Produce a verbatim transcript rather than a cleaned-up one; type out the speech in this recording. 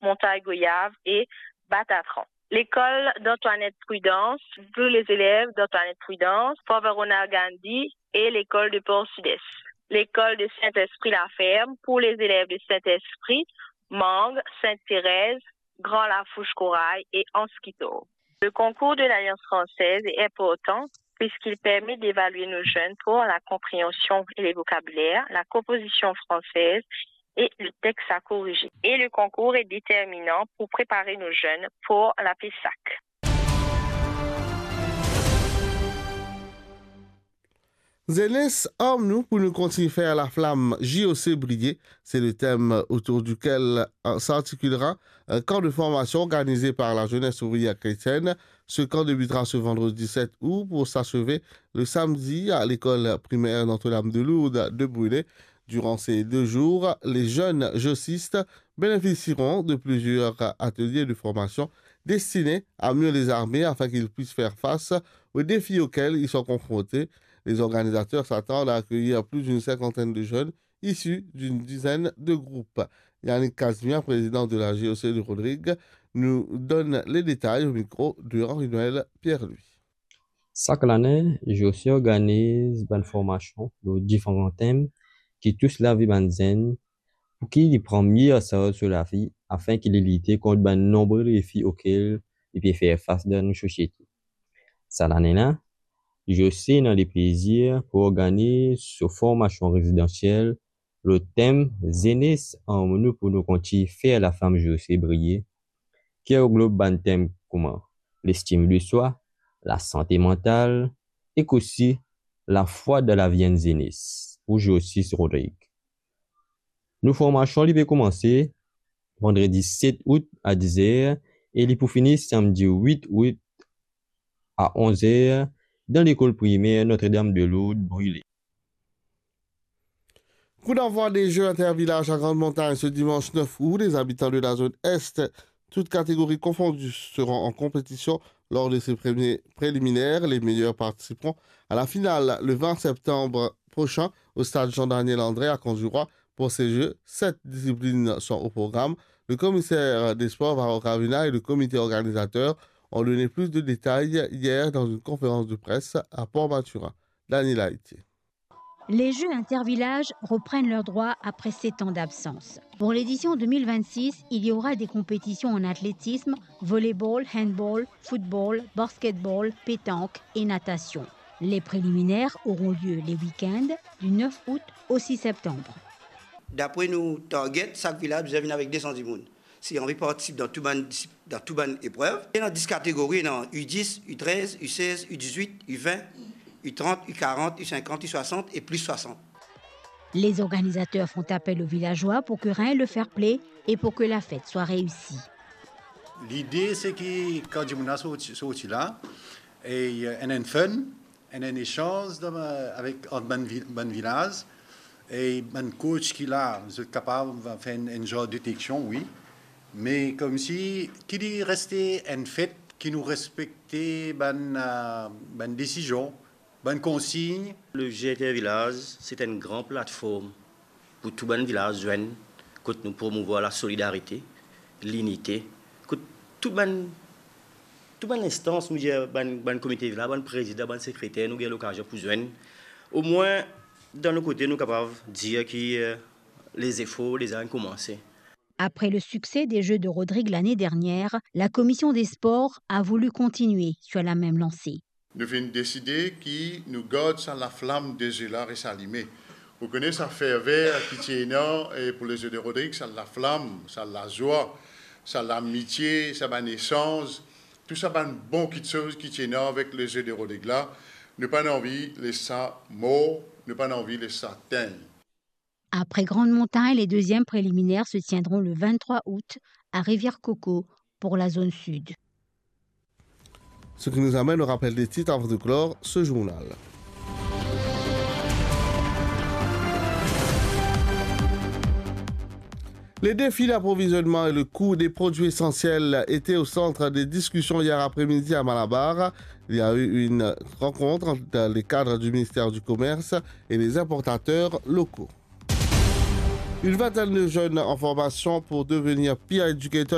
Montagne Goyave et Batatran. L'école d'Antoinette Prudence, tous les élèves d'Antoinette Prudence, Fort Verona Gandhi et l'école de Port Sud-Est. L'école de Saint-Esprit-la-Ferme pour les élèves de Saint-Esprit, Mangue, Sainte-Thérèse, Grand Lafouche Corail et Anse Quito. Le concours de l'Alliance française est important puisqu'il permet d'évaluer nos jeunes pour la compréhension et les vocabulaires, la composition française et le texte à corriger. Et le concours est déterminant pour préparer nos jeunes pour la PESAC. Zenes, arm nou pou nou kontign fer laflam J O C briye. C'est le thème autour duquel, euh, s'articulera un camp de formation organisé par la Jeunesse Ouvrière Chrétienne. Ce camp débutera ce vendredi sept août pour s'achever le samedi à l'école primaire Notre-Dame de Lourdes de Brulé. Durant ces deux jours, les jeunes jocistes bénéficieront de plusieurs ateliers de formation destinés à mieux les armer afin qu'ils puissent faire face aux défis auxquels ils sont confrontés. Les organisateurs s'attendent à accueillir plus d'une cinquantaine de jeunes issus d'une dizaine de groupes. Yannick Casimir, président de la J O C de Rodrigues, nous donne les détails au micro de Henri-Noël Pierre-Louis. Sak lane, J O C organiz bann formasion lor diferan tem ki tous lavi bann zenn, pou ki li pran mie ansarz so lavi, afin ki li lite kont bann nonbre defi okel li pe fer fas dan nou sosiete. Sa lane la, J O C ena leplezir pou organiz so formasion rezidansiel lor tem Zenes, arm nou pou nou kontign fer laflam J O C briye, ki anglob bann tem kouma lestim de swa, lasante mantal, ek osi lafwa dan lavi enn zenes, pou J O C Rodrigues. Nou formasion li pe koumanse vandredi set out a diz er e li pou fini samdi wit out a onz er dan lekol primer Notre-Dame de Lourdes, Brulé. Coup d'envoi des Jeux Intervillage à Grande Montagne ce dimanche neuf août. Les habitants de la zone Est, toutes catégories confondues, seront en compétition lors de ces premiers préliminaires. Les meilleurs participeront à la finale le vingt septembre prochain au stade Jean-Daniel André à Courbevoie. Pour ces Jeux, sept disciplines sont au programme. Le commissaire des sports, Varro Karvina, et le comité organisateur ont donné plus de détails hier dans une conférence de presse à Port Mathurin. Daniel Haïti. Les Jeux Intervillage reprennent leurs droits après sept ans d'absence. Pour l'édition deux mille vingt-six, il y aura des compétitions en athlétisme, volleyball, handball, football, basketball, pétanque et natation. Les préliminaires auront lieu les week-ends du neuf août au six septembre. Dapre nou target, sak vilaz bizin vinn avek de san dimoun. Si anvi partisip dan tou bann disip-, dan tou bann eprev. Ena dis kategori, ena U dis, U trez, U sez, U dizwit, U vin, U trant, U karant, U sinkant, U swasant e plis swasant. Les organisateurs font appel aux villageois pour que règne le fair-play et pour que la fête soit réussie. Lide se ki kan dimoun la sorti, sorti la, e, euh, enn, enn fun, enn, enn esanz dan, euh, avek, ant bann vi-, bann vilaz, e bann coach ki la, zot kapav fer enn, enn zar deteksion, wi. Me koumsi, ki li reste enn fet, ki nou respekte bann, euh, bann desizion, bann konsign. Le Jeux Intervillage, se enn gran platform pou tou bann vilaz zwenn, kot nou promouvwar la solidarite, linite, kot tou bann, tou bann instans, nou dir, bann, bann komite vilaz, bann prezidan, bann sekreter, nou gagn lokazion pou zwenn. Omwin, dan nou kote, nou kapav dir ki, euh, les efforts deza inn koumanse. Après le succès des Jeux de Rodrigues l'année dernière, la commission des sports a voulu continuer sur la même lancée. Nou finn deside ki nou gard sa laflam de ze la res alime. Ou kone sa ferver ki ti ena, e pou le Jeux de Rodrigues, sa laflam, sa lazwa, sa lamitie, sa bann esanz, tou sa bann bon kitsoz ki ti ena avek le Jeux de Rodrigues la, nou pa'nn anvi les sa mor, nou pa'nn anvi les sa tegn. Après Grande Montagne, les deuxièmes préliminaires se tiendront le vingt-trois août à Rivière-Coco pour la zone sud. Ce qui nous amène au rappel des titres avant de clore ce journal. Les défis d'approvisionnement et le coût des produits essentiels étaient au centre des discussions hier après-midi à Malabar. Il y a eu une rencontre entre les cadres du ministère du Commerce et les importateurs locaux. Une vingtaine de jeunes en formation pour devenir peer educators